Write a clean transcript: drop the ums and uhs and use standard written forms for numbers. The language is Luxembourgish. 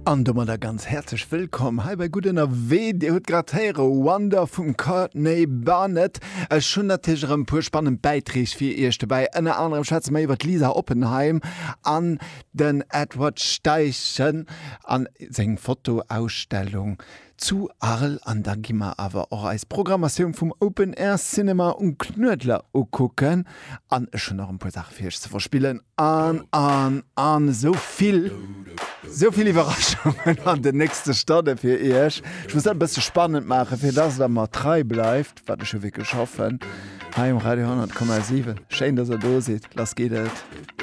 An domadder ganz häerzlech wëllkomm hei bei Gutt Ënnerwee. Dir hutt grad héiere Wonder vum Courtney Barnett. Ech hunn natierlech erëm e puer spannend Bäitreeg fir Iech dobäi. Ënner anerem schwätze mer iwwer d'Lisa Oppenheim an den Edward Steichen an seng Fotoausstellung zu Arles. An da gi mer awer och eis Programmatioun vum Open Air Cinema um Knuedler ukucken. An ech hunn nach en puer Saache fir iech ze verspillen. An, an, an esou vill, esou vill Iwwerraschungen an den nächste Stonne fir iech. Ech muss dat e bësse spannend maachen, fir dass der mer trei bleift, wat ech jo wierklech hoffen, hei um Radio 100,7. Schéin, dass der do sidd. Lass geet et.